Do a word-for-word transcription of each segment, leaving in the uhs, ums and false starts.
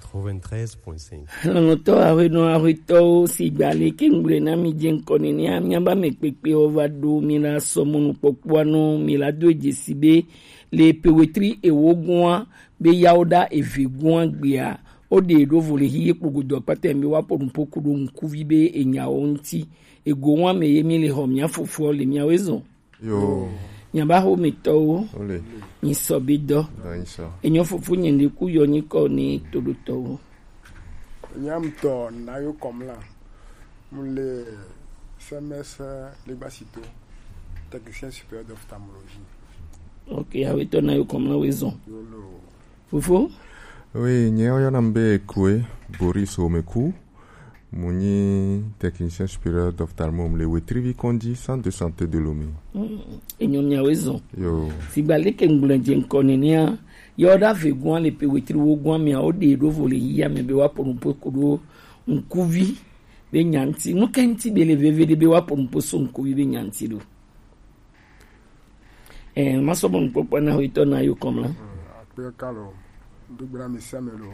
Quatre-vingt-treize point cinq. Lɔlɔ̃tɔ ahuenɔ ahuetɔwo, sigba leke ŋgblɔe na mi dze ŋkɔ nenea, miaba me kpekpewo va ɖo mi la sɔ mɔnukpɔkpɔa nɔ mi la do dzesi be le pewetri ewo gɔa be yawo ɖa eve gɔa gbea, wo ɖe ɖo vo le hiye kpogodo akpata be wa pɔnu poku ɖo ŋkuvi be enyawo ŋuti. Ego wa me ye mi le xɔ mia fofoa le miawo ezɔn. Yo. Nyaba xo mi tɔwo. Ole. Mi sɔ bi dɔ. Dɔ yi sɔ. Enyo fufu nyi ndi ku yɔ nyi kɔ ni to do tɔwo. Nyam tɔ na yo kɔm la. Mu le C M S Ligbasito, technicien supérieur d'ophtalmologie. Ok, awe tɔ na yo kɔm la we zɔn. Yo lo. Fofo? Oui, nye oyɔna m be Kue Boris Omeku. Mu nyi technicien supérieur d'ophtalmo le Wetrivi Kondi, centre de santé de Lomé. Mm, enyo miawe zɔn. Yo. Sigba leke ŋgblɔ dze ŋkɔ nenea, yɔ ɖa ve gɔa le pe wetri wo gɔa mia, wo ɖe ɖo vo le yiya me be wa pɔnu po ko ɖo ŋkuvi be nyanti. Nu ke ŋti be le veve ɖe be wa pɔnu po so ŋkuvi be nyanti ɖo. Eh, ma sɔ bɔ nukpɔkpɔ na ho itɔ na yo kɔm la. Akpe kalo, do gbra mi same lo.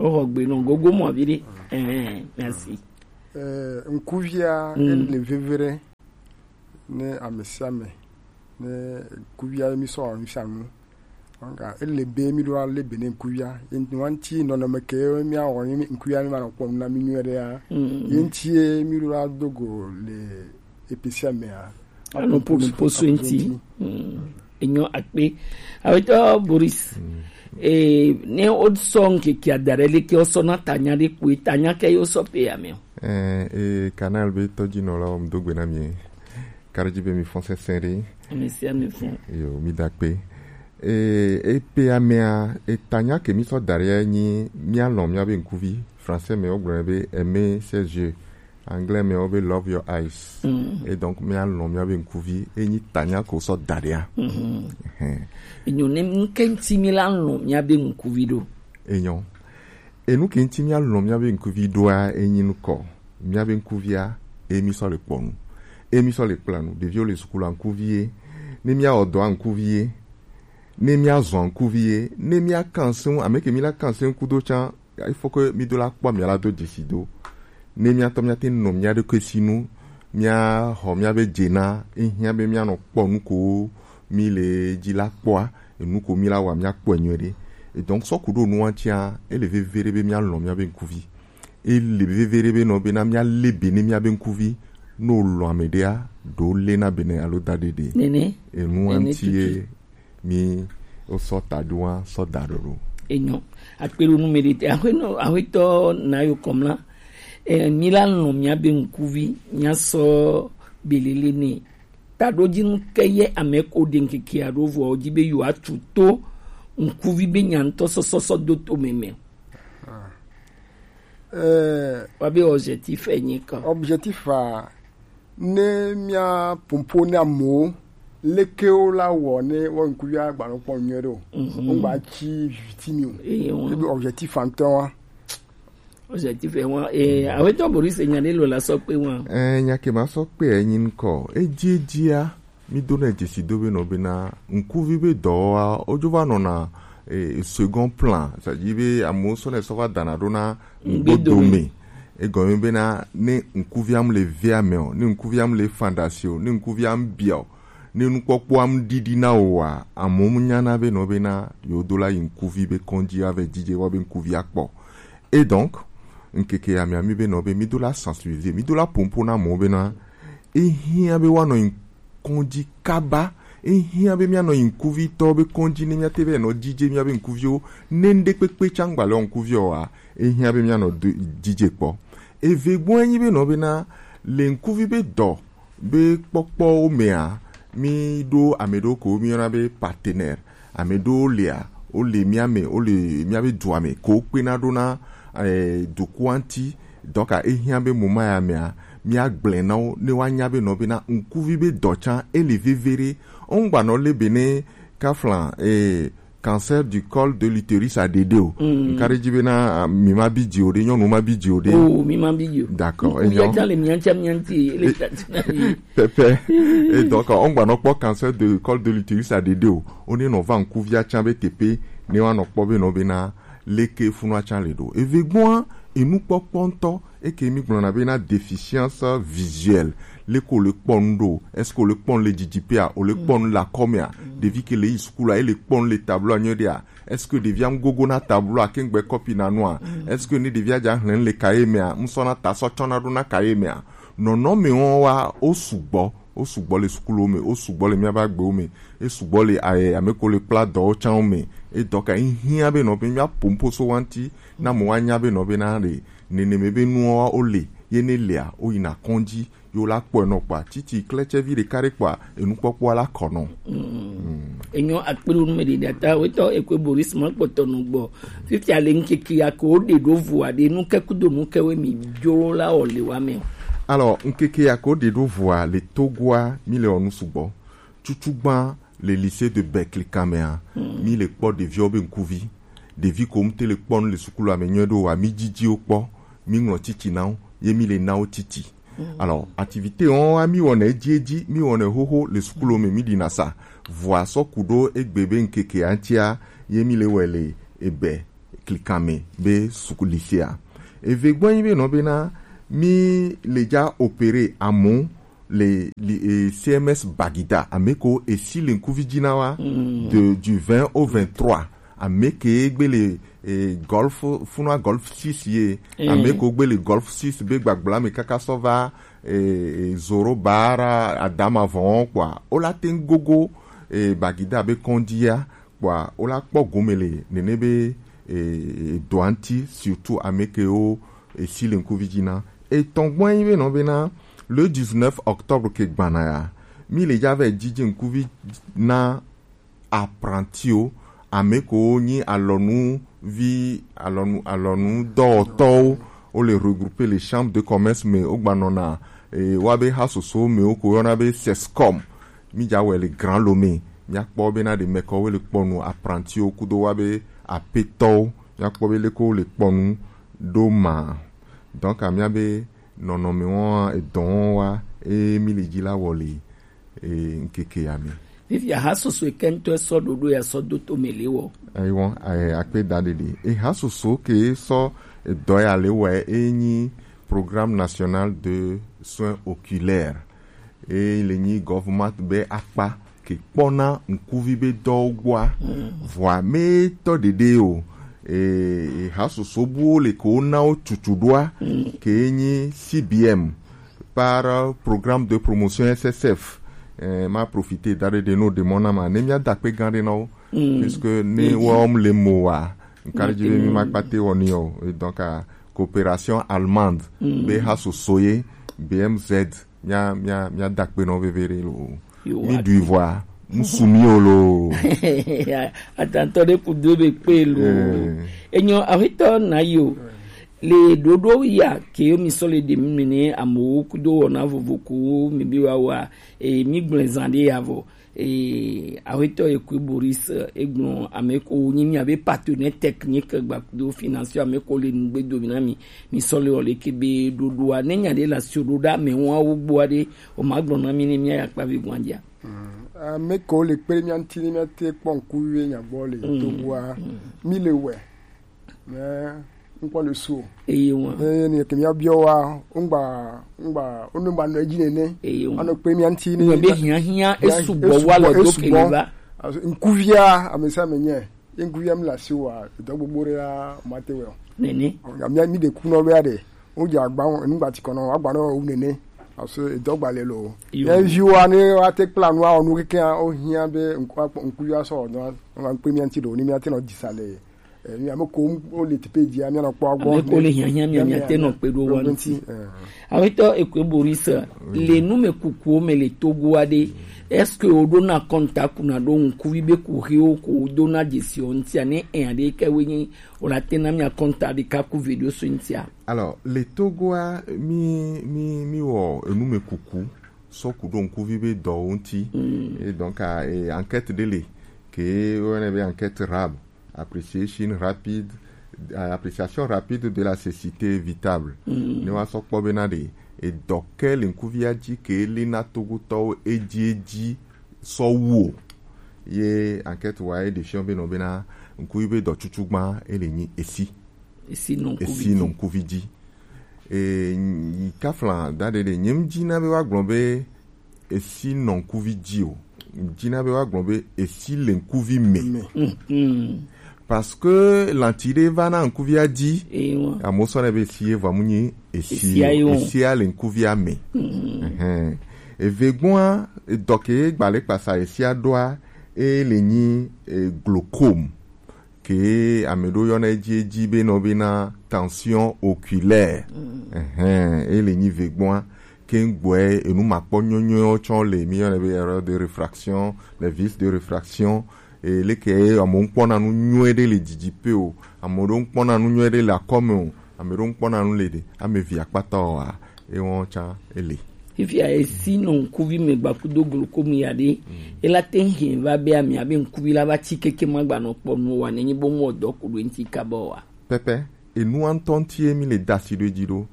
O ho gbe no gogo mo abi de. Eh, merci. Eh, nkuvia, mm, ele vevere ne amesiame, ne nkuvia mi sɔ mi sanu. Nga ele be mi do ale be ne nkuvia. Enti wanti no no me ke mi a woni nkuvia mi ma no kpɔ na mi nyu de ya. Mm. Enti mi do adogo le epesi amea. Anu po mi po so enti. Mm. Enyo akpe. Awetɔ Boris. Mm. Eh, ne o sɔ nkeke adare le ke o sɔ na tanya de kue, tanya ke yo sɔ pe ya me o. Eh, eh, canal be tɔji nɔ la o m do gbe na mi. Kariji be mi fɔn sɛnsɛn de. Mi si mi fɔn. Yo, mi da kpe. Eh, e pe ya me a, e tanya ke mi sɔ dare nyi mi alɔn mi a be nkuvi. Français me o gblɔ be aimer ses yeux. Anglais me wo be love your eyes. Mm. Et donc, mi alɔn mi a be nkuvi, e nyi tanya ko sɔ da de a. Mhm. Ehɛn. Enyo ne nke ŋti mi la lɔn mi a be nkuvi ɖo. Enyo. Enu ke ŋti mi alɔn mi a be nkuvi ɖo a, e nyi nukɔ. Mi a be nkuvi a, e mi sɔ le kpɔ nu. E mi sɔ le kpla nu. Ɖeviwo le sukulu a nkuvi ye. Ne mi a wɔ dɔ a nkuvi ye. Ne mi a zɔn nkuvi ye. Ne mi a kan se ŋu, ame ke mi la kan se ŋu kudo can, il faut que mi do la kpɔ mi la do dzesi do. Ne mi atɔ mi ate nɔ mi aɖe ke si nu, mi a xɔ mi a be dze na, ehiã be mi anɔ kpɔ nu ko mi le dzi la kpɔa, enu ko mi la wa mi akpɔe nyuie ɖe. Et donc, sɔ ku ɖo nua tia, ele veve ɖe be mi alɔn mi a be nkuvi. Ele veve ɖe be nɔ be na mi ale be ne mi a be nkuvi, no lɔn ame ɖea, ɖo le na be ne alo da ɖe ɖe. Nene. Enu anti ye. Mi o sɔ ta ɖo wa sɔ da ɖo ɖo. Enyo. Akpelu nu me de te. Ahuenɔ, ahuetɔ na yo kɔm la. Eh, mi la lɔn mi a be nkuvi, mi a sɔ belele ne. Ta ɖo dzi nu ke ye ame ko de nkeke a ɖo vɔ dzi be yo atu to nkuvi be nya ŋtɔ sɔsɔ sɔ do to meme. Eh, wa be objectif e nyi kɔ. Objectif a, ne mia pompo ne amewo, lekewo la wɔ ne wo ŋkuvi agba nɔ kpɔ nyuie ɖo. Mhm. Wo gba tsi viviti mi o. Eye wo. Ebi objectif antɔ wa. Objectif e wa, eh, ahuetɔ Boris nya ɖe lo la sɔ kpe wa. Eh, nya ke ma sɔ kpe e nyi ŋkɔ. Edzi edzia, mi do na dzesi do be nɔ be na ŋkuvi be dɔwɔwa, o dzo va nɔna, eh, second plan, c'est-à-dire be amewo sɔ ne sɔ va dana ɖo na ŋgbedo me. Egɔme be na ne ŋkuvi am le vea me o, ne ŋkuvi am le fondation, ne ŋkuvi am bia o, ne nukpɔkpɔ am ɖiɖi na o wa, amewo mu nya na be nɔ be na yo do la yi ŋkuvi be kɔndzi a ve dzidze wa be ŋkuvi akpɔ. Et donc, ŋkeke ya mia mi be nɔ be mi do la sensibiliser, mi do la pompo na amewo be na ehiã be woanɔ yi kɔndzi kaba. Ehiã be míanɔ yi ŋkuvitɔ be kɔndzi ne míate be nɔ dzidze míabe ŋkuviwo. Ne ŋɖe kpekpe tsã ŋgba le ŋkuviɔ wa, ehiã be míanɔ do- dzidze kpɔ. Eve gbɔ enyi be nɔ bena le ŋkuvi be dɔ be kpɔkpɔwo mea, mí ɖo ame ɖewo ko míyɔna be partenaire. Ame ɖewo lia, wole mía me, wole míabe dua me ko kpena ɖo na, eh, dukua ŋuti. Donc, ehiã be moma ya mea, míagblẽ na wo, ne woanya be nɔ bena ŋkuvi be dɔ tsã, ele veve ɖe. Wongbanɔ le be ne kafla, eh, cancer du col de l'utérus a ɖeɖe o. Mm. Nka ɖe dzi bena, ah, mi ma bi dzi o ɖe, nyɔnu ma bi dzi o ɖe. Oh, mi ma bi dzi o. D'accord, ŋkuvi enyo. Tsã le mía tsã mía ŋuti, ele tati na mi. Pɛpɛ. Et donc, wongbanɔ kpɔ cancer de col de l'utérus a ɖeɖe o. Wone nɔ va ŋkuvia tsã be teƒe, ne woanɔ kpɔ be nɔ bena, Leke funu atsa le ɖo. Eve gbɔn, enukpɔkpɔ ŋutɔ, eke mi gblɔna be na déficience visuelle. Leke o le kpɔ nu ɖo? Est-ce que o le kpɔ nu le didi pea? O le kpɔ nu le akɔmea? Ɖevi ke le yi sukulu a, e le kpɔ nu le tableau a nyuie ɖea? Est-ce que ɖevia ŋu gogo na tableau a ke ŋgbe kɔpi na nua? Est-ce que ne ɖevia dza hlẽ nu le cahier mea, ŋu sɔ na ta sɔ tsɔ na ɖo na cahier mea? Nɔnɔme wɔn wa o sugbɔ, o sugbɔ le sukuluwo me, o sugbɔ le miabe agbewo me, e sugbɔ le, eh, ame ko le kpla dɔwo tsã wo me. E dɔ ka yi hiã be nɔ be mia po ŋpo so wa ŋuti, na mo wa nya be nɔ be na ɖe neneme be nuwo wa o le, ye ne lea, o yina kɔndzi, yo la kpɔe nɔ kpɔa, titi klɛtsɛvi ɖeka ɖe kpɔa, enukpɔkpɔa la kɔ nɔ. Enyo akpelu nu me ɖe ɖata wetɔ ekwe Boris ma kpɔtɔ nu gbɔ. Fifia le ŋkeke ya ko ɖe ɖo vua ɖe nu ke kudo nu ke we mi jo la o le wa me. Alors, ŋkeke ya ko ɖe ɖo vua le Togoa, mi le ɔ nu sugbɔ. Tutu gbã le lycée de Berkeley Kamea, mi le kpɔ ɖeviwo be ŋkuvi. Ɖevi ko ŋute le kpɔ nu le sukulu ame nyuie ɖo wa, mi dzidzi wo kpɔ, mi ŋlɔ titi na wo, ye mi le na wo titi. Alors, activité wɔn wa mi wɔnɛ edzi edzi, mi wɔnɛ xoxo le sukulu me mi ɖina sa. Vɔa sɔ ku ɖo egbe be ŋkeke aŋtia, ye mi le wɛ le ebe klikame be suku lycée a. Eve gbɔ nyi be nɔ be na mi le dza opérer amu le li, e, C M S Bagida, ame ko esi le ŋkuvi dzi na wa de, du vingt au vingt-trois. Ame ke gbe le, e, golf, funua golf six ye. Ame ko gbe le golf six be gbagbla me kaka sɔ va, e, e, Zoro Bara Adama vɔn kpɔa, o la te ŋu gogo, e, Bagida be kɔndzi ya kpɔa, o la kpɔ gome le nene be, e, e, dɔa ŋuti, surtout ame ke wo, e, si le ŋkuvi dzi na. Etɔn gbɔn yi be nɔ be na le dix-neuf octobre ke gbana ya, mi le dza vɛ dzidzi ŋkuvi na apprenti o, ame ko nyi alɔnuvi, alɔnu, alɔnu dɔwɔtɔwo, o le regrouper le chambre de commerce me, o gba nɔna, e, wa be ha soso me o ko yɔna be sescom. Mi dza wɛ le Grand Lomé, mia kpɔ be na ɖe mɛkɔ wo le kpɔ nu, apprenti wo kudo wa be apetɔwo, mia kpɔ be leke wo le kpɔ nu ɖo ma. Donc, mia be nɔnɔme wɔn, edɔ wɔn wa, e mi le dzi la wɔ le, e, ŋkeke ya me. Fifia ha soso ke ŋutɔ sɔ ɖoɖo ya sɔ do to me le wɔ. Ayi wɔn, ayi, akpe da ɖeɖe. E ha soso ke sɔ edɔ ya le wɔ e nyi Programme National de Soins Oculaires. E le nyi government be akpa ke kpɔna ŋkuvi be dɔwo gbɔa. Vɔa me tɔ ɖeɖe o. E, e ha soso buwo le ko na wo tutu ɖoa, ke nyi C B M, par, euh, programme de promotion S S F. Eh, ma profiter da ɖe ɖe no ɖe mɔ na ma. Ne mia da kpe gan ɖe na wo. Puisque ne wɔm le mo wa, nka ɖe dzi be mi ma kpate wɔ ni o. Et donc, euh, coopération allemande, be ha soso ye, B M Z, mia, mia, mia da kpe nɔ veve ɖe lo. Mi ɖui vɔa, ŋsu mi o lo. Atantɔ ɖe ku do be kpe lo. Eh. Enyo, ahitɔ na yo. Le ɖoɖo ya ke yo mi sɔ le ɖe mi ne amewo kudo wɔna vovo ko mi bi wa wa, e, mi gblẽ zã ɖe ya vɔ. E, ahitɔ ye ku Boris, e, gblɔ ame ko nyi mi abe partenaire technique gba kudo financier ame ko le nugbe do mi na mi. Mi sɔ le wɔ le ke be ɖoɖoa. Ne nya ɖe la sio ɖo ɖa me wa wo gbɔ ɖe, o ma gblɔ na mi ne mi ya kpa vi gwandia. Ame ko le kpe mia ŋuti ne mia te kpɔ ŋku wie nya gbɔ le Togoa. Mi le wɛ. Mais ŋkpɔ le su o. Eye wa. Eye ni ke mia biɔ wa, ŋgba, ŋgba, ŋgba nɔ edzi nene. Eye wa. Anɔ kpe mia ŋuti ne. Ŋgba be hiã hiã esu gbɔ wa le do ke va. Ŋkuvia, amesa me nye. Ŋkuvia mi la si wa, dɔ gbogbo ɖe ya ma te wɛ o. Nene. Ŋgba mia mi de kunɔ be ya de. Wo dze agba, ŋgba ti kɔnɔ, agba nɔ wu nene. Aso edɔ gba le lo. Yo. Mia viwa ne wa te kpla nu, awɔ nu keke, o hiã be ŋku, ŋkuvia sɔ dɔ, ŋgba kpe mia ŋuti do, ni mia te nɔ disa le. Eh, mi ame ko wo le teƒe dzia, mia nɔ kpɔ gbɔ. Ame ko le hiahiã mia, mia te nɔ kpe ɖo wa ŋuti. Eh. Awetɔ ekwe Boris, le nu me kukuwo me le Togo aɖe, est-ce que wo ɖo na kɔnta kuna ɖo ŋkuvi be kuxiwo ko wo do na dzesi wo ŋutia ne enya ɖe ke wo nyi, wo la te na mia kɔnta ɖeka ku video so ŋutia? Alors, le Togoa, mi, mi, mi wɔ enu me kuku sɔ ku ɖo ŋkuvi be dɔwo ŋuti. Et donc, ah, eh, enquête ɖe le, ke wo yɔnɛ be enquête RAB. Appreciation rapide, euh, appréciation rapide de la cécité évitable. Ne wa sɔ kpɔ be na ɖe edɔ ke le ŋkuvia dzi ke li na Togotɔwo edzi edzi sɔ wu o. Ye enquête wa ye ɖe fiɔ be nɔ be na Ŋkuvi be dɔtsutsu gban ele nyi esi. Esi nɔ ŋkuvi dzi. E, nyi kafla da ɖe ɖe, nye ŋdzi na be wa gblɔ be esi nɔ ŋkuvi dzi o. Ŋdzi na be wa gblɔ be esi le ŋkuvi me. Parce que lanti ɖe va na ŋkuvia dzi. Amewo sɔ ne be esi ye vɔ mu nyi esi o. Esia le ŋkuvia me. Eve gbɔa, dɔke gbalẽ kpasa esia ɖoa, e le nyi, e, glaucome. Ke ame ɖewo yɔna edzi edzi be nɔ bena tension oculaire. Ehɛn, e le nyi vegbɔa. Ke ŋgbɔe enu makpɔ nyɔnyɔ tsɔ le, mi yɔnɛ be erreur de réfraction, les vices de réfraction. E leke ye amewo ŋkpɔna nu nyuie ɖe le didi pe o, ame ɖewo ŋkpɔna nu nyuie ɖe le akɔme o, ame ɖewo ŋkpɔna nu le ɖe, ame vi akpata oa, ewɔn tsã ele. Fifia esi nɔ ŋkuvi me gba kudo glaucome ya ɖe, ela te hɛn va be ami abe ŋkuvi la va tsi keke ma gba nɔ kpɔ nu wa ne nyi bo mu dɔ ku ɖo ŋti kaba wa. Pɛpɛ, enua ŋutɔ ŋuti ye mi le da asi ɖo edzi ɖo,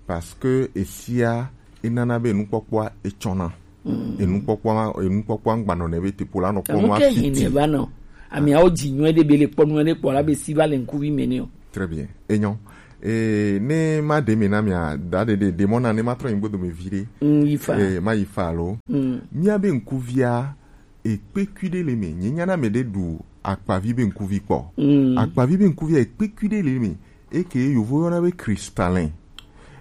parce que esia enana be enukpɔkpɔa etsɔna. Enukpɔkpɔa, enukpɔkpɔa ŋgba nɔ ne be tepo la nɔ kpɔ nua fiti. Enu ke hɛn ne va nɔ. Ami awo dzi nyuie ɖe be le kpɔ nyuie ɖe kpɔ la be si va le ŋkuvi me ne o. Très bien. Enyo. E, ne ma ɖe mi na mia, da ɖe ɖe, ɖe mɔ na ne ma trɔ nyi gbɔdome vi ɖe. Mm, yi fa. E, ma yi fa alo. Mm. Mia be ŋkuvia, ekpekui ɖe le me. Nye nyana me ɖe ɖu akpavi be ŋkuvi kpɔ. Mm. Akpavi be ŋkuvia, ekpekui ɖe le me. Eke yovo yɔna be cristallin.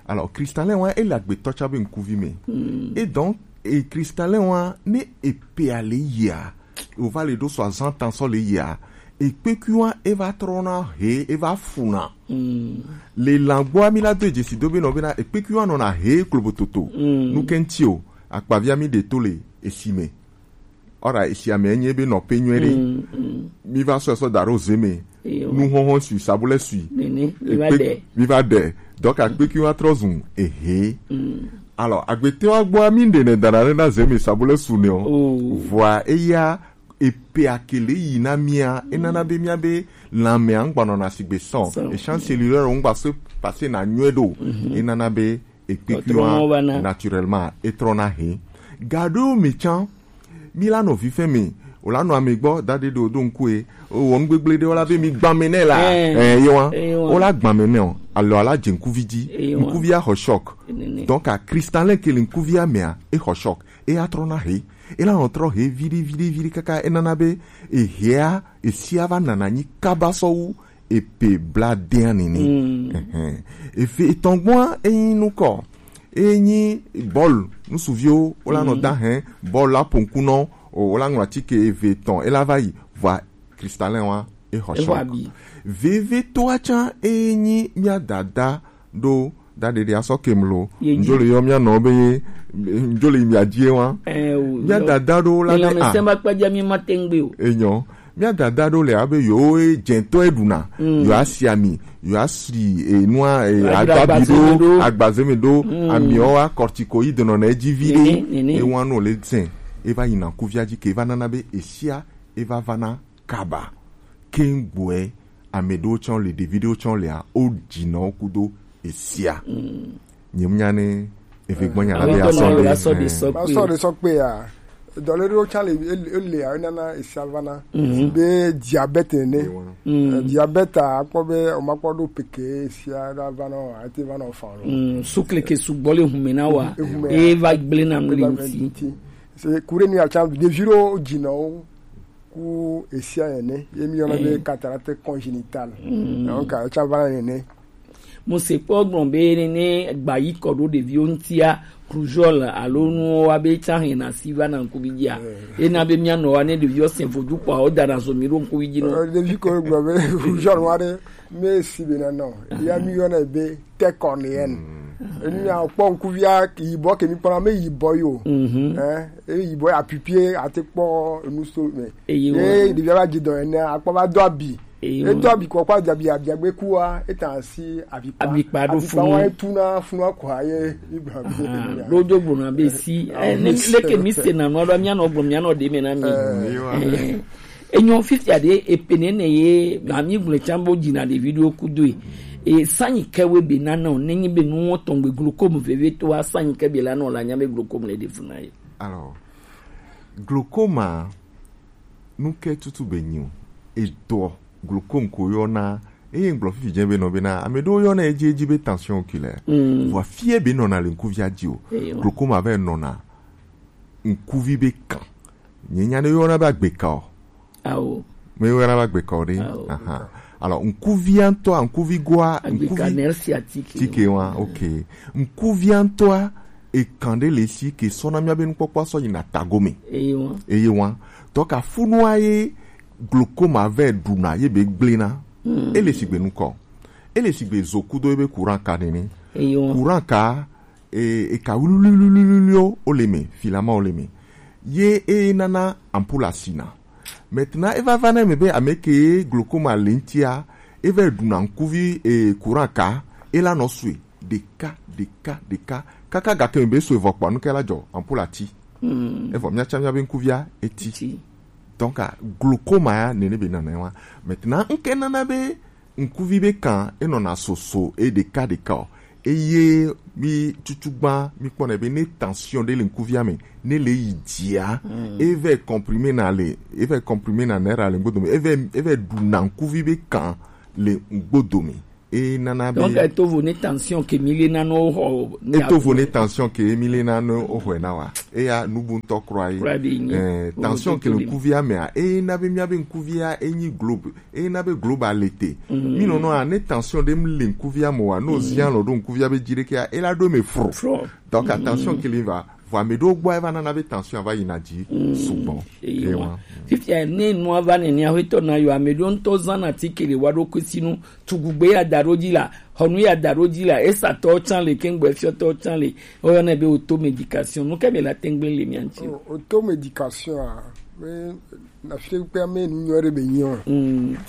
Alors, cristallin wa, ele agbetɔ tsa be ŋkuvi me. Mm. Et donc, e cristallin wa, ne epe ale yia, o va le ɖo soixante ans sɔ le yia, ekpekui wa, e va trɔna he, e va funa. Mm. Le langboa mi la do edzesi do be nɔ bena, ekpekui wa nɔna he klobototo. Mm. Nu ke ŋti o, akpavia mi ɖe to le esi me. Ɔra, esi ame enye be nɔƒe nyuie ɖe. Mm, mm. Mi va sɔ sɔ da ɖo ze me. Eyo. Nu hɔhɔ sui, sabule sui. Nene, mi va ɖe. Mi va ɖe. Donc, akpekui wa trɔ zu ehe. Mm. Alors, agbete wa gbɔ mi ɖe ne dana ɖe na ze me sabule su ne o. Oh. Vɔa, eya, epe akele yi na mia, enana be mia be lãmea ŋgba nɔna sigbe sɔn. Sɔn. Echan cellulaire ŋgba se passer na nyuie ɖo. Mhm. Enana be ekpekui wa naturellement etrɔna he. Gaɖo mi tsã, mi la nɔ vifɛn me, o la nɔ ame gbɔ, da ɖe ɖo do ŋkue, o wɔ nu gbegble ɖe, o la be mi gbame nɛ la. Eh. Eh, ye wa. Eh, ye wa. O la gbame nɛ o, alors ala dze ŋkuvi dzi. Eh, ye wa. Ŋkuvi axɔ choc. Nene. Donc, a cristallin ke le ŋkuvia mea, e xɔ choc. E atrɔna he. E la nɔ trɔ he viɖi, viɖi, viɖi kaka, e nana be, ehea, esia va nana nyi kaba sɔ wu, epe bla dea nene. Mm. Ehɛn. Efe etɔn gbɔa, enyi nukɔ. Enyi bɔl, nusuviwo, o la nɔ da hɛn, bɔl la ponku nɔ, o, o la ŋlɔ atike eve etɔn, e la va yi, vɔa cristallin wa, e xɔ choc. Veve toa tsã, enyi mia dada ɖo da ɖeɖe asɔ kem lo. Ye dzi. Ndzo le yɔ mia nɔ be ye, ndzo le mia dzi wa. Eh, o, mia dada ɖo la ne a. Lãmesẽ ma kpadza mi ma tengbe o. Enyo. Mia dada ɖo le abe yo e dzɛntɔ e ɖuna. Mm. Yo asi ami, yo asi enua, e, ado abi ɖo, agbaze me ɖo, mm, ami o wa corticoïde nɔ na edzi vi ɖe. Nene, nene. E wa no le zɛn. E va yi na kuvia dzi ke va nana be esia, e va va na kaba. Keŋ gbɔe, ame ɖewo tsã le, ɖevi ɖewo tsã lea, o dzi nɔ kudo esia. Mm. Nye mu nya ne eve gbɔ nya la be asɔ ɖe. Asɔ ɖe sɔ kpe ya. Dɔle ɖewo tsã le, ele, ele ya, enana esia vana. Mhm. Be diabète ne. Mm. Eh, diabète a, akpɔ be o ma kpɔ ɖo peke esia ɖa vana o, ate vana o fan lo. Mm. Sukleke sugbɔ le hume na wa. Ehume ya. E va gble na nu le ŋti. Se kure ni a tsã ɖevi ɖewo dzi nɔ wo. Ku esia ene, ye mi yɔna be cataracte congénitale. Mm. Donc, etsa va nene. Mo se kpɔ gblɔ be nene gba yi kɔ ɖo ɖeviwo ŋutia, rougeole alo nuwo wa be tsa hɛn na si va na ŋkuvi dzia. Eh. Ena be mia nɔ wa ne ɖeviwo se vodu kpɔ, o da na zo mi ɖo ŋkuvi dzi nɔ. Eh, ɖevi ko gblɔ be rougeole wa ɖe, me si be na nɔ. Ya mi yɔna be tête cornéenne. Mm. Enu ya kpɔ ŋkuvia yibɔ ke mi kpɔna me yibɔ yo. Mhm. Eh, e yibɔ ya pipie ate kpɔ enu so me. Eye wa. Ye ɖevia va dzi dɔ ene, akpɔ va do abi. Eye wa. E do abi kɔ kpɔ abi abi abi agbe kua, e ta si abi kpa. Abi kpa ɖo funu. Abi kpa wa e tuna funu akɔ ye, mi gba be. Ah, ɖo do gbɔna be si. Ah, eh, ne, mi leke mi se na nɔ ɖo mia nɔ gbɔ mia nɔ ɖe me na mi. Eh. Eye wa. Eh. Enyɔ fifia ɖe, epe nene ye, ami gblɔe tsã bo dzina ɖevi ɖewo kudoe. E sanyi ke we be nana o, nenyi be nuwo tɔn gbe glaucome veve to wa sanyi ke be la nɔ la nya be glaucome le ɖe funa ye. Alors, glaucome a, nu ke tutu be nyi o, edɔ, Glaucome ko yɔna, eye ŋgblɔ fifi jɛ be nɔ bena ame ɖewo yɔna edzi edzi be tension oculaire. Vɔ fie be nɔna le ŋkuvia dzi o. Glaucome avɛ nɔna ŋkuvi be kan. Nye nya ne yɔna be agbeka o. Awo. Me yɔna be agbeka o ɖe. Awo. Aha. Alors ŋkuvia ŋutɔa, ŋkuvi goa, ŋkuvi nerf sciatique. Tike wa, ok. Ŋkuvia ŋutɔa, ekan ɖe le si ke sɔna mía be nukpɔkpɔ sɔ yina tagome. Eye wa. Eye wa. Donc afunua ye glaucome avɛ ɖuna ye be gblena. Ele sigbe nukɔ. Ele sigbe zo kudo ebe courant ka nene. Eye wa. Courant ka, e, e ka wluwluwluwluwluwo le me, filament wo le me. Ye e nana ampoule asina. Maintenant, e va va na me be ame ke glaucome le ŋtia, e va ɖuna ŋkuvi, e, courant ka, e la nɔ sue ɖeka ɖeka ɖeka kaka gake me be sue vɔ kpɔ nu ke la dzɔ ampoule ati. Evɔ mía tsã mía be ŋkuvia eti. Donc glaucome ya nene be nana wa. Maintenant, ŋke nana be ŋkuvi be kan enɔna soso e ɖeka ɖeka o. Eye mi tutu gba mi kpɔnɛ be ne tension ɖe le ŋkuvia me, ne le yi dzia, e va comprimé na le, e va comprimé na nerf le ŋgbodo me, e va, e va ɖuna ŋkuvi be kan le ŋgbodo me. E nana be donc eto vo ne tension ke mi le na no ho. Eto vo ne tension ke mi le na no ho na wa. Eya nubu ŋutɔ kura ye. Kura be nyi. Eh, tension ke le ŋkuvia mea, e na be mía be ŋkuvia e nyi globe. E na be globe le te. Mi nɔnɔ a ne tension ɖe mi le ŋkuvia mo wa, no zia lɔ ɖo ŋkuvia be dzi ɖekea, e la ɖo me fro. Donc tension ke le va, vɔ ame ɖewo gbɔ e va nana be tension va yina dzi sugbɔ. Ewa. Fifia ne nua va nene, aƒetɔ na yɔ ame ɖewo ŋutɔ zana ti ke le wa ɖo kusi nu, tugugbe ya da ɖo dzi la, xɔnu ya da ɖo dzi la, esatɔwo tsã le, kengbe fiɔtɔwo tsã le, woyɔnɛ be auto médication. Nu ke mi la tengbe le mia ŋuti? Auto médication a, me na fi kpe ame nu nyɔ ɖe be nyi o.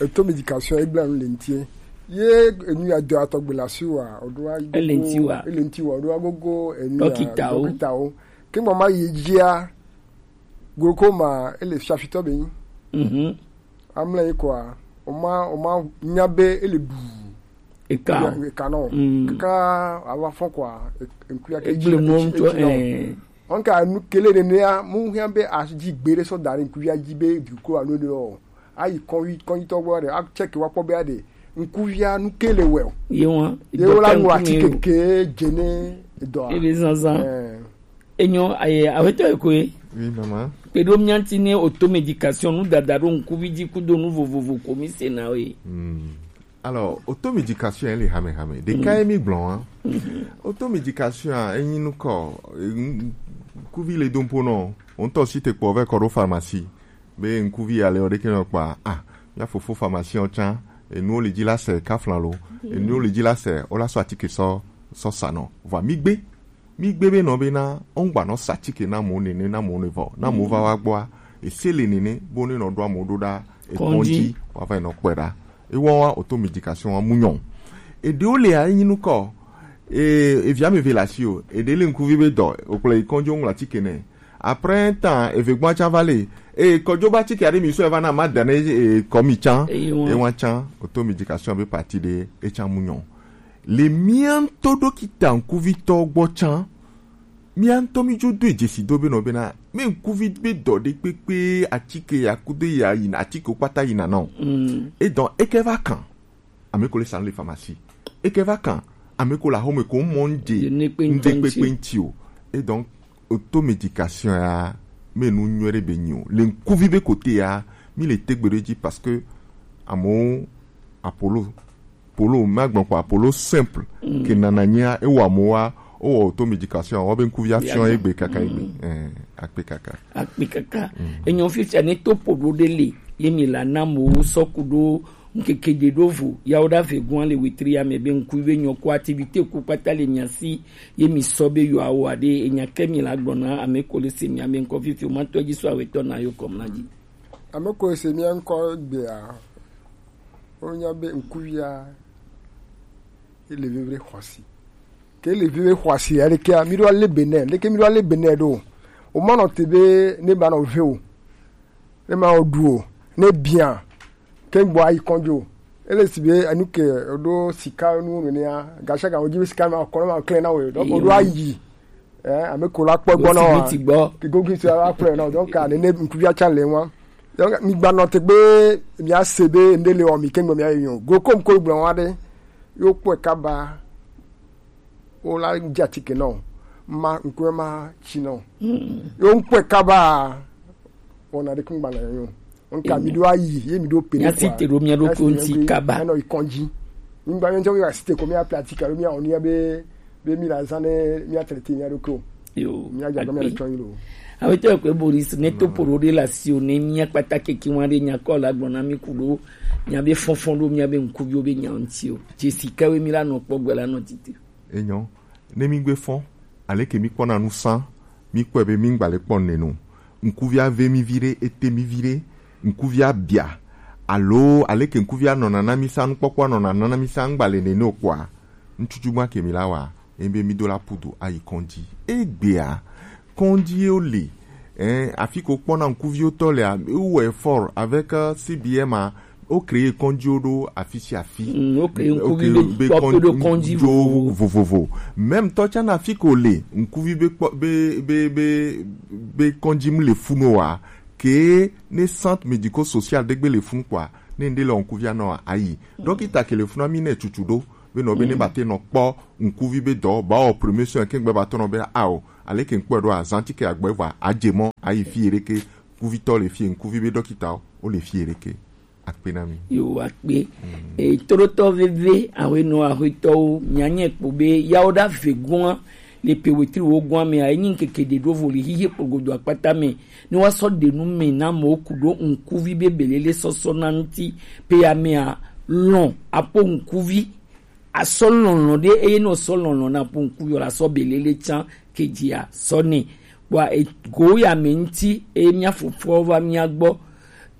Auto médication e bla nu le ŋuti. Ye enu ya do atɔgbe la si wa, o do a ele ŋuti wa. Ele ŋuti wa, o do agogo enu ya dɔkitawo. Dɔkitawo. Ke mo ma yi dzia, glaucome ele fiafitɔ be nyi. Amle yi kɔa, o ma, o ma nya be ele ɖu. Eka. Eka nɔ. Kaka ava fɔ kɔa, e, ŋkuya ke egble mo ŋutɔ, eh. Ɔnka nu kele nenea, mu hiã be asi dzi gbe ɖe sɔ da ɖe ŋkuvia dzi be glaucome alo ne o. Ayi kɔnyi, kɔnyitɔ gbɔ ɖe, a check wa kpɔ be aɖe ŋkuvia nu ke le wɛ o. Ye wa. Ye wo la nu atike ke dze ne edɔa. Ebe zanzan. Eh. Enyo, aye, awetɔ ekoe. Oui, maman. Kpeɖo mía ŋuti ne auto médication, nu dada ɖo ŋkuvi dzi kudo nu vovovo ko mi se na we. Hmm. Alors, auto médication ele hame hame. Ɖeka ye mi gblɔ wa. Auto médication a, enyi nukɔ, e, ŋ-, ŋkuvi le do ŋpo nɔ, o ŋutɔ si te kpɔ vɛ kɔ ɖo pharmacie. Be ŋkuvi ya le o ɖeke nɔ kpa, ah, mía fofo pharmacien o tsã, enuwo le dzi la se kaflan lo, enuwo le dzi la se, o la sɔ atike sɔ, sɔ sa nɔ. Vɔ mi gbe, mi gbe be nɔ be na, o ŋgba nɔ sa atike na mo nene, na mo ne vɔ, na mo va wa gbɔa, ese le nene, bo ne nɔ ɖo amo ɖo ɖa, ekɔndzi, wa va yi nɔ kpɔe ɖa. Ewɔ wa auto médication wa mu nyɔ. Eɖewo le a, enyi nukɔ. E, evi ame eve le asi o. Eɖe le ŋkuvi be dɔ, o kplɔ yi kɔndzi o ŋlɔ atike nɛ. Après un temps, eve gbɔn tsã va le. E, kɔdzo ba atike aɖe mi sɔ eva na ma da ne, e, kɔ mi tsã. Ewa. Ewa tsã, auto médication be partie ɖe, e tsã mu nyɔ. Le mía ŋutɔ ɖokita ŋkuvitɔ gbɔ tsã, mía ŋutɔ mi dzo do dzesi do be nɔ bena, me ŋkuvi be dɔ ɖe kpekpe, atike ya kudo ya yina, atike wo kpata yina nɔ. Mm. E dɔn, e ke va kan. Ame ko le sa nu le pharmacie. E ke va kan. Ame ko le axome ko mɔ ŋdze, ŋde kpekpe ŋti o. Et donc, auto médication ya, me nu nyuie ɖe be nyi o. Le ŋkuvi be côté ya, mi le tegbe ɖe dzi parce que amewo apolo polo, ma gbɔn kɔ apolo simple, ke nana nyia, e wa mo wa, o wa auto médication, wa be ŋkuvi afiɔ egbe kaka egbe. Eh, akpe kaka. Akpe kaka. Enyo fifia ne to po ɖo ɖe le, ye mi la na mo sɔ ku ɖo ŋkeke ɖe ɖo vo, ya wo ɖa ve gɔn le wetri ya me be ŋkuvi be nyɔ ko activité ku kpata le mia si, ye mi sɔ be yo awo aɖe, enya ke mi la gbɔna, ame ko le se mi ame ŋkɔ fifi, o ma tɔ dzi so awetɔ na yo kɔm na dzi. Ame ko se mia ŋkɔ gbea, o nya be ŋkuvia, ele vevre xɔsi. Ke ele vevre xɔsi, ya ɖekea, mi ɖo ale be nɛ, leke mi ɖo ale be nɛ ɖo. O ma nɔ te be ne ba nɔ ve o. Ne ma o ɖu o. Ne bia. Ke gbɔ ayi kɔndzo. Ele si be enu ke ɖo sika nu nenea, gasiaga wo dzi be sika ma kɔ ma klẽ na o. Donc o ɖo ayi. Eh, ame ko la kpɔ gbɔ na wa. Ke gogi se la kplɔe na. Donc a nene ŋkuvia tsa le wa. Donc mi gba nɔ te gbe, mi a se be nde le o mi kengbe mi a yo go kom ko gblɔ wa de yo kpɔe kaba. O la dza tike nɔ ma nkue ma tsi nɔ yo nkpɔe kaba. Wɔna ɖe kungba na yo nka mi ɖo ayi ye mi ɖo pe ya si te ɖo mia ɖo ko ŋuti kaba. Enɔ ikɔn dzi ngba mi ŋutɔ mi wa si te ko mi a pratique alo mi a wɔnu ya be be mi la zã ne mi a traité mi a ɖo ko yo mi a dza gbe mi a ɖo tsɔ yi lo. Awetɔ ekpe Boris ne to poro ɖe la si o ne mi a kpata keke wa ɖe nya kɔ la gblɔ na mi ku ɖo mi a be fɔnfɔn ɖo mi a be ŋkuviwo be nya ŋuti o. Jesi kawe mi la nɔ kpɔ gbe la nɔ titi. Enyo, ne mi gbe fɔn aleke mi kpɔna nu sã, mi kpɔe be mi ŋgba le kpɔ nenu. Ŋkuvia ve mi vi ɖe, ete mi vi ɖe, ŋkuvia bia alo aleke ŋkuvia nɔna na mi sã, nukpɔkpɔa nɔna na mi sã, ŋgba le nene o kpɔa, ŋtsutsu gbã ke mi la wa, ebe mi do la pudu ayi kɔndzi. Egbea kɔndzi ye wo le, eh, afi ko kpɔna ŋkuviwo tɔ lea, wo wɔ effort avec, euh, C B M a, wo créer kɔndzi wo ɖo afi si afi. Mm, wo créer ŋkuvi be kpɔ to ɖo kɔndzi vovovo. Même tɔ tsã na afi ko le ŋkuvi be kpɔ be be be be kɔndzi mu le funu wa ke ne centre médico social ɖe gbe le funu kpɔa ne ŋɖe le ŋkuvia nɔ ayi. Dɔkita ke le funu mi ne tutu ɖo be nɔ be ne ba te nɔ kpɔ ŋkuvi be dɔ ba wɔ premier soin ke ŋgbe ba tɔ nɔ be ao aleke ŋkpɔe ɖo azã ti ke agbɔ evɔ adze mɔ ayi fi yɛ ɖeke kuvitɔ le fi ŋkuvi be dɔkita wo le fi yɛ ɖeke. Akpe na mi. Yo akpe. E todotɔ veve awe no awe tɔwo nyanye kpo be yawo da ve gua le pe wetri wo gua me a enyi keke de do vo le hihe kpogodo akpata me ni wa sɔ de nu me na mo ku do ŋkuvi be belele sɔsɔ na ŋti pe ya me a lɔn apo ŋkuvi asɔ lɔlɔ ɖe eye ne osɔ lɔlɔ na ƒo ŋku yɔ la sɔ belele tsã kedzia sɔ nɛ. Kpɔa ego ya me ŋti eye mía fofɔwo va mía gbɔ.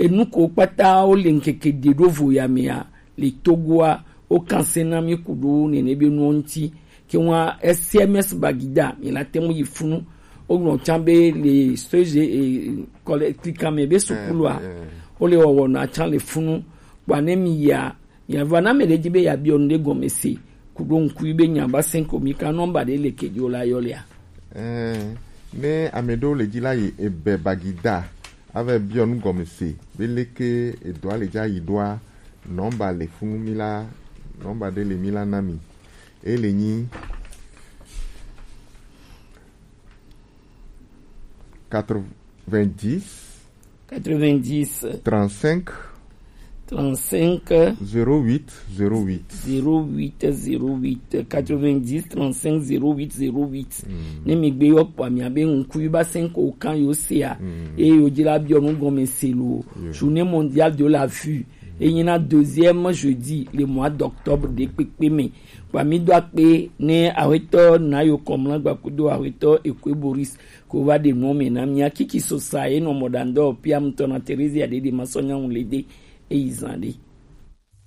Enu ko kpata wo le ŋkeke ɖe ɖo vo ya mea le Togoa wo kanse na mí ku ɖo nene be nuwo ŋti. Ke wa S M S Bagida mi la te ŋu yi funu. Wo gblɔ tsã be le soje e kɔle klika me be sukulua wo le wɔwɔ na tsã le funu. Kpɔa ne mi ya Miava na ame ɖe dzi be yeabiɔ nu ɖe gɔme se ku ɖo ŋkui be nya ba sɛn ko mi ka nɔmba ɖe le kedzo la yɔ lea. Ɛɛ, ne ame ɖewo le dzi la yi ebe Bagida ava biɔ nu gɔme se be leke edɔa le dza yi ɖoa, nɔmba le funu mi la, nɔmba ɖe le mi la na mi. E le nyi quatre-vingt-dix, quatre-vingt-dix, trente-cinq, trente-cinq, zéro huit, zéro huit, zéro huit, zéro huit, quatre-vingt-dix, trente-cinq, zéro huit, zéro huit. Ne mi gbe yɔ kpɔ mi abe ŋku yi ba cinq au camp yo se a. Eye yo dzi la biɔ nu gɔme se lo. Journée mondiale de la vue. Enyi na deuxième jeudi le mois d'octobre de kpekpe me. Kpa mi do akpe ne awetɔ na yo kɔmla gba kudo awetɔ Ekwe Boris ko va ɖe nuwo me na mía. Kiki sosa ye nɔ mɔ ɖa ŋdɔ pia ŋutɔ na Teresia ɖe ɖe ma sɔ nya ŋu le de eyi zan ɖe.